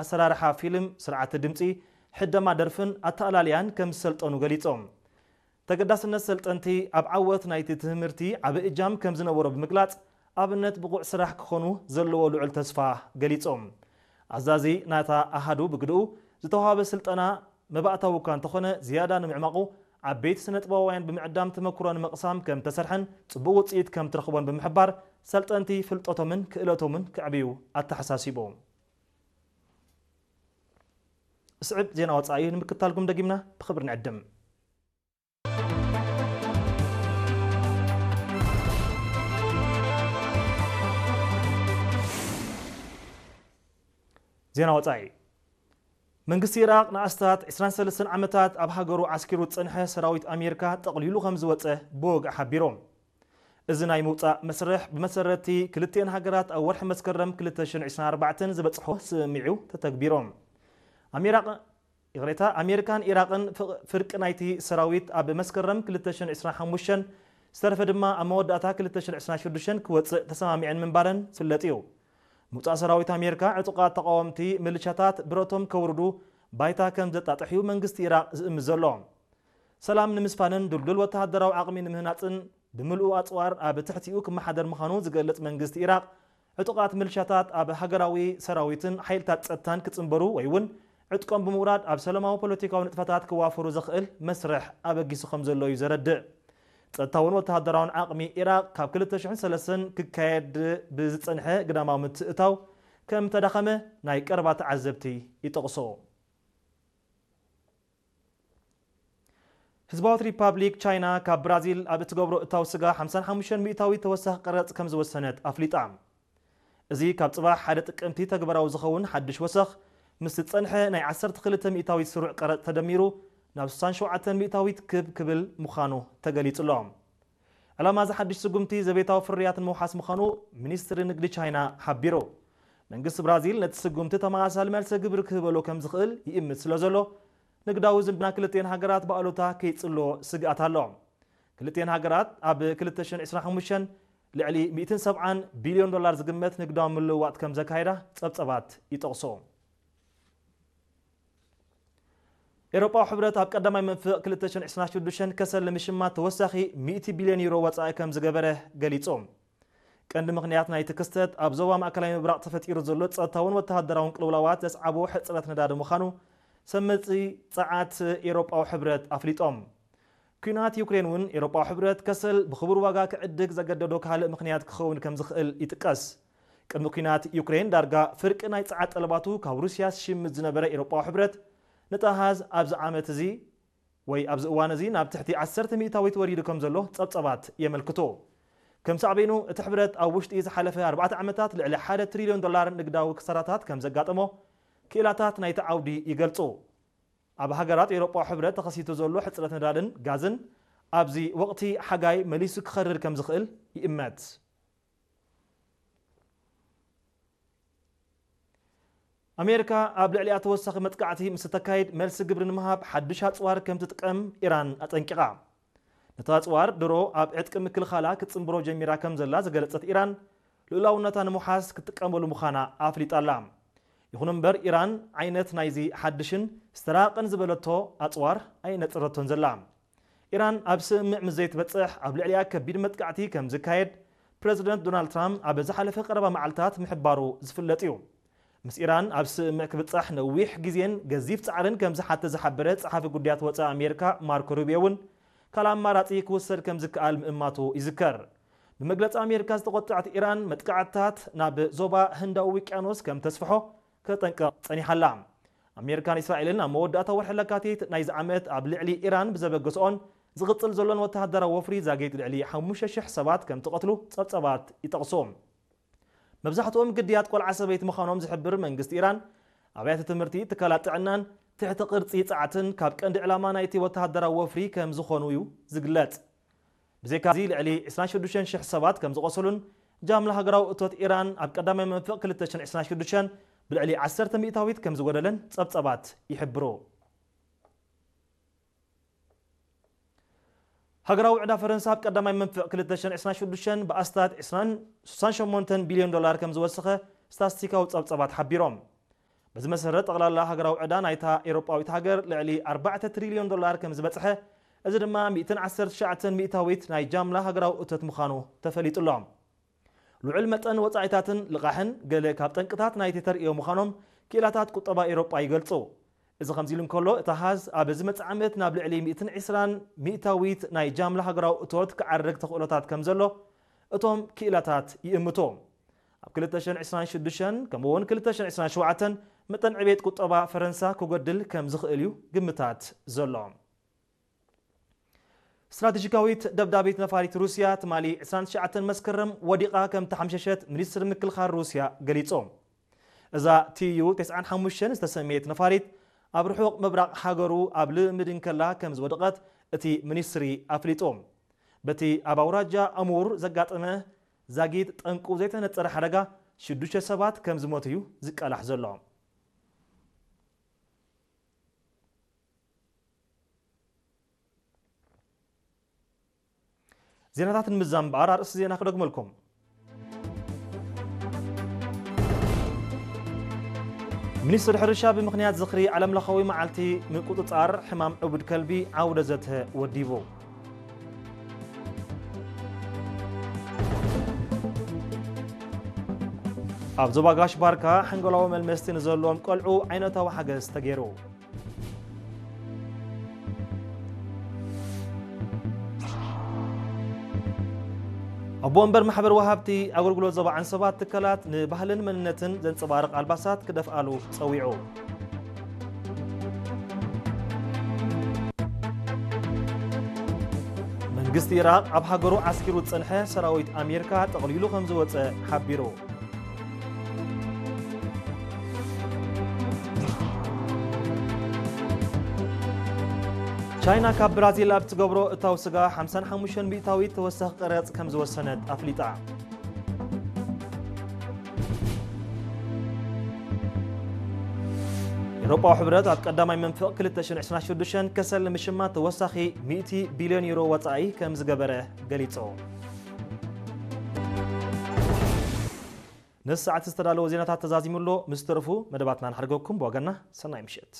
ኣሰራርሓ ፊልም፣ ስርዓተ ድምጺ፣ ሕደማ ደርፍን ኣተኣላልያን ከም ዝሰልጠኑ ገሊጾም። ተገዳስነት ሰልጠንቲ ኣብ ዓወት ናይቲ ትምህርቲ ዓቢ እጃም ከም ዝነበሮ ብምግላጽ፣ ኣብነት ብቑዕ ስራሕ ክኾኑ ዘለዎ ልዑል ተስፋ ገሊጾም። ኣዛዚ ናታ ኣሃዱ ብግድኡ፣ ዝተዋሃበ ስልጠና መባእታዊ እኳ እንተኾነ፣ ዝያዳ ንምዕማቑ ዓበይቲ ስነ-ጥበባውያን ብምዕዳም ተመክሮ ንምቕሳም ከም ተሰርሐን ጽቡቕ ውጽኢት ከም ትረኽቦን ብምሕባር፣ ሰልጠንቲ ፍልጠቶምን ክእለቶምን ከዕብዩ ኣተሓሳሲቡ። ስዕብ ዜና ወጻኢ ንምክታልኩም ደጊምና ብኽብሪ ንዕድም። ዜና ወጻኢ። መንግስቲ ኢራቕ ንኣስታት ዕስራን ሰለስተን ዓመታት ኣብ ሃገሩ ዓስኪሩ ዝጸንሐ ሰራዊት ኣሜሪካ ጠቕሊሉ ከም ዝወጸ ብወግዒ ሓቢሩ። እዚ ናይ ምውጻእ መስርሕ ብመሰረቲ ክልቲኤን ሃገራት ኣብ ወርሒ መስከረም ክልተ ሽሕን ዕስራን ኣርባዕተን ዝበጽሖ ስምምዕ እዩ ተተግቢሩ። ኣሜራቕ-፣ ይቕሬታ፣ ኣሜሪካን ኢራቕን ፍቕ-፣ ፍርቂ ናይቲ ሰራዊት ኣብ መስከረም ክልተ ሽሕን ዕስራን ሓሙሽተን ዝተረፈ ድማ ኣብ መወዳእታ ክልተ ሽሕን ዕስራን ሽዱሽተን ክወጽእ ተሰማሚዐን ምንባረን ዝፍለጥ እዩ። ምውጻእ ሰራዊት ኣሜሪካ ዕጡቓት ተቓወምቲ ምልሻታት ብረቶም ከውርዱ ባይታ ከም ዘጣጥሕ እዩ መንግስቲ ኢራቕ ዝእምት ዘሎ። ሰላም ንምስፋንን ድልዱል ወተሃደራዊ ዓቕሚ ንምህናጽን ብምልኡ ኣጽዋር ኣብ ትሕቲኡ ክመሓደር ምዃኑ ዝገልጽ መንግስቲ ኢራቕ፣ ዕጡቓት ምልሻታት ኣብ ሃገራዊ ሰራዊትን ሓይልታት ጸጥታን ክጽንበሩ ወይ እውን ዕጥቆም ብምውራድ ኣብ ሰላማዊ ፖለቲካዊ ንጥፈታት ክዋፈሩ ዘኽእል መስርሕ ኣበጊሱ ከም ዘሎ እዩ ዘረድእ። ጸጥታውን ወተሃደራውን ዓቕሚ ኢራቕ ካብ ክልተ ሽሕን ሰለስተን ክካየድ ብዝጸንሐ ግዳማዊ ምትእታው ከም ተዳኸመ ናይ ቀረባ ተዓዘብቲ ይጠቕሱ። ህዝባዊት ሪፓብሊክ ቻይና ካብ ብራዚል ኣብ እትገብሮ እታው ስጋ ሓምሳን ሓሙሽተን ሚእታዊት ተወሳኺ ቀረጽ ከም ዝወሰነት ኣፍሊጣ። እዚ ካብ ጽባሕ ሓደ ጥቅምቲ ተግባራዊ ዝኸውን ሓድሽ ወሰኽ፣ ምስ ዝጸንሐ ናይ ዓሰርተ ክልተ ሚእታዊት ስሩዕ ቀረጽ ተደሚሩ ናብ ስሳን ሸውዓተን ሚእታዊት ክብ ክብል ምዃኑ ተገሊጹ ኣሎ። ዕላማ እዚ ሓድሽ ስጉምቲ ዘቤታዊ ፍርያት ንምውሓስ ምዃኑ ሚኒስትሪ ንግዲ ቻይና ሓቢሩ። መንግስቲ ብራዚል ነቲ ስጉምቲ ተመሳሳሊ መልሰ ግብሪ ክህበሉ ከም ዝኽእል ይእምት ስለ ዘሎ፣ ንግዳዊ ዝምድና ክልቲኤን ሃገራት ብኣሉታ ከይጽሎ ስግኣት ኣሎ። ክልቲኤን ሃገራት ኣብ ክልተ ሽሕን ዕስራን ሓሙሽተን ልዕሊ ሚእትን ሰብዓን ቢልዮን ዶላር ዝግመት ንግዳዊ ምልውዋጥ ከም ዘካየዳ ጸብጸባት ይጠቕሶ። ኤውሮጳዊ ሕብረት ኣብ ቀዳማይ መንፍቕ ክልተ ሽሕን ዕስራን ሽዱሽተን ከሰል ንምሽማት ተወሳኺ ሚእቲ ቢልዮን ዩሮ ወጻኢ ከም ዝገበረ ገሊጹ። ቀንዲ ምኽንያት ናይቲ ክስተት ኣብ ዞባ ማእከላይ ምብራቕ ተፈጢሩ ዘሎ ጸጥታውን ወተሃደራውን ቅልውላዋት ዘስዓቦ ሕጽረት ነዳዲ ምዃኑ ሰመጽቲ ጸዓት ኤውሮጳዊ ሕብረት ኣፍሊጦም። ኲናት ዩክሬን እውን ኤውሮጳዊ ሕብረት ከሰል ብኽቡር ዋጋ ክዕድግ ዘገደዶ ካልእ ምኽንያት ክኸውን ከም ዝኽእል ይጥቀስ። ቅድሚ ኲናት ዩክሬን ዳርጋ ፍርቂ ናይ ጸዓት ጠለባቱ ካብ ሩስያ ዝሽምት ዝነበረ ኤውሮጳዊ ሕብረት፣ ነቲ ኣሃዝ ኣብዚ ዓመት እዚ ወይ ኣብዚ እዋን እዚ ናብ ትሕቲ ዓሰርተ ሚእታዊት ወሪዱ ከም ዘሎ ጸብጸባት የመልክቱ። ከም ሳዕቤኑ፣ እቲ ሕብረት ኣብ ውሽጢ ዝሓለፈ ኣርባዕተ ዓመታት ልዕሊ ሓደ ትሪልዮን ዶላር ንግዳዊ ክሳራታት ከም ዘጋጠሞ ክኢላታት ናይቲ ዓውዲ ይገልጹ። ኣብ ሃገራት ኤውሮጳዊ ሕብረት ተኸሲቱ ዘሎ ሕጽረት ነዳድን ጋዝን ኣብዚ ወቕቲ ሓጋይ መሊሱ ክኸርር ከም ዝኽእል ይእመት። ኣሜሪካ ኣብ ልዕሊኣ ተወሳኺ መጥቃዕቲ ምስ እተካይድ፣ መልሲ ግብሪ ንምሃብ ሓድሽ ኣጽዋር ከም ትጥቀም ኢራን ኣጠንቂቓ። ነቲ ኣጽዋር ድሮ ኣብ ዕጥቂ ምክልኻላ ክትጽንብሮ ጀሚራ ከም ዘላ ዝገለጸት ኢራን፣ ልኡላውነታ ንምውሓስ ክትጥቀመሉ ምዃና ኣፍሊጣ ኣላ። ይኹን እምበር፣ ኢራን ዓይነት ናይዚ ሓድሽን ዝተራቐን ዝበለቶ ኣጽዋር ኣይነጽረቶን ዘላ። ኢራን ኣብ ስምምዕ ምስ ዘይትበጽሕ፣ ኣብ ልዕሊኣ ከቢድ መጥቃዕቲ ከም ዝካየድ ፕረዚደንት ዶናልድ ትራምፕ ኣብ ዝሓለፈ ቀረባ መዓልታት ምሕባሩ ዝፍለጥ እዩ። ምስ ኢራን ኣብ ስምምዕ ክብጻሕ ነዊሕ ግዜን ገዚፍ ጻዕርን ከም ዝሓትት ዝሓበረ ጸሓፊ ጉዳያት ወጻኢ ኣሜሪካ ማርኮ ሩቢዮ እውን፣ ካልእ ኣማራጺ ክውሰድ ከም ዝከኣል ምእማቱ ይዝከር። ብመግለጺ ኣሜሪካ ዝተቖጠዐት ኢራን፣ መጥቃዕትታት ናብ ዞባ ህንዳዊ ውቅያኖስ ከም ተስፍሖ ከጠንቅቕ ጸኒሓ ኣላ። ኣሜሪካን እስራኤልን ኣብ መወዳእታ ወርሒ ለካቲት ናይዚ ዓመት ኣብ ልዕሊ ኢራን ብዘበገስኦን ዝቕጽል ዘሎን ወተሃደራዊ ወፍሪ ዛጊት ልዕሊ ሓሙሽተ ሽሕ ሰባት ከም ትቐትሉ ጸብጸባት ይጠቕሱ። መብዛሕትኦም ግድያት ቆልዓ ሰበይቲ ምዃኖም ዝሕብር መንግስቲ ኢራን፣ ኣብያተ ትምህርቲ፣ ትካላት ጥዕናን ትሕቲ ቅርጺ ጸዓትን ካብ ቀንዲ ዕላማ ናይቲ ወተሃደራዊ ወፍሪ ከም ዝኾኑ እዩ ዝግለጽ። ብዘይካዚ፣ ልዕሊ ዕስራን ሽዱሽተን ሽሕ ሰባት ከም ዝቖሰሉን፣ ጃምላ ሃገራዊ እቶት ኢራን ኣብ ቀዳማይ መንፍቕ ክልተ ሽሕን ዕስራን ሽዱሽተን ብልዕሊ ዓሰርተ ሚእታዊት ከም ዝጎደለን ጸብጸባት ይሕብሩ። ሃገራዊ ዕዳ ፈረንሳ ኣብ ቀዳማይ መንፍቕ ክልተ ሽሕን ዕስራን ሽዱሽተን ብኣስታት ዕስራን ስሳን ሸሞንተን ቢልዮን ዶላር ከም ዝወሰኸ ስታትስቲካዊ ጸብጸባት ሓቢሮም። በዚ መሰረት፣ ጠቕላላ ሃገራዊ ዕዳ ናይታ ኤውሮጳዊት ሃገር ልዕሊ ኣርባዕተ ትሪልዮን ዶላር ከም ዝበጽሐ፣ እዚ ድማ ሚእትን ዓሰርተ ትሽዓተን ሚእታዊት ናይ ጃምላ ሃገራዊ እቶት ምዃኑ ተፈሊጡ ኣሎ። ልዑል መጠን ወጻኢታትን ልቓሕን ገለ ካብ ጠንቅታት ናይቲ ተርእዮ ምዃኖም ክኢላታት ቁጠባ ኤውሮጳ ይገልጹ። እዚ ከምዚ ኢሉ እንከሎ፣ እቲ ኣሃዝ ኣብ ዝመጽእ ዓመት ናብ ልዕሊ ሚእትን ዕስራን ሚእታዊት ናይ ጃምላ ሃገራዊ እቶት ክዓርግ ተኽእሎታት ከም ዘሎ እቶም ክኢላታት ይእምቱ። ኣብ ክልተ ሽሕን ዕስራን ሽዱሽተን ከምኡ እውን ክልተ ሽሕን ዕስራን ሸውዓተን መጠን ዕቤት ቁጠባ ፈረንሳ ክጎድል ከም ዝኽእል እዩ ግምታት ዘሎ። ስትራቴጂካዊት ደብዳቢት ነፋሪት ሩስያ ትማሊ ዕስራን ትሽዓተን መስከረም ወዲቓ ከም ተሓምሸሸት ሚኒስትሪ ምክልኻል ሩስያ ገሊጹ። እዛ ቲዩ ተስዓን ሓሙሽተን ዝተሰምየት ነፋሪት ኣብ ርሑቕ ምብራቕ ሃገሩ ኣብ ልምድ እንከላ ከም ዝወደቐት እቲ ሚኒስትሪ ኣፍሊጡ። በቲ ኣብ ኣውራጃ ኣሙር ዘጋጠመ ዛጊት ጠንቁ ዘይተነጸረ ሓደጋ ሽዱሽተ ሰባት ከም ዝሞቱ እዩ ዝቃላሕ ዘሎ። ዜናታት ንምዛም እምበኣር ኣርእስቲ ዜና ክደግመልኩም። ሚኒስትሪ ሕርሻ ብምኽንያት ዝኽሪ ዓለምለኻዊ መዓልቲ ምቁጽጻር ሕማም ዕቡድ ከልቢ ዓውደ ዘተ ወዲቡ። ኣብ ዞባ ጋሽ ባርካ ሓንጎላዊ መልመስቲ ንዘለዎም ቆልዑ ዓይነታዊ ሓገዝ ተገይሩ። ኣቦ ወንበር ማሕበር ወሃብቲ ኣገልግሎት ዞባ ዓንሰባ ትካላት ንባህልን መንነትን ዘንጸባርቕ ኣልባሳት ክደፍኣሉ ጸዊዑ። መንግስቲ ኢራቕ ኣብ ሃገሩ ዓስኪሩ ዝጸንሐ ሰራዊት ኣሜሪካ ጠቕሊሉ ከም ዝወጸ ሓቢሩ። ቻይና ካብ ብራዚል ኣብ ትገብሮ እታው ስጋ ሓምሳን ሓሙሽተን ሚእታዊት ተወሳኺ ቀረጽ ከም ዝወሰነት ኣፍሊጣ። ኤውሮጳዊ ሕብረት ኣብ ቀዳማይ መንፍቕ ክልተ ሽሕን ዕስራን ሽዱሽተን ከሰል ንምሽማት ተወሳኺ ሚእቲ ቢልዮን ዩሮ ወጻኢ ከም ዝገበረ ገሊጹ። ነዚ ሰዓት ዝተዳለወ ዜናታት ተዛዚሙ ኣሎ። ምስ ተረፉ መደባትና ንሓድገኩም። ብወገንና ሰናይ ምሸት።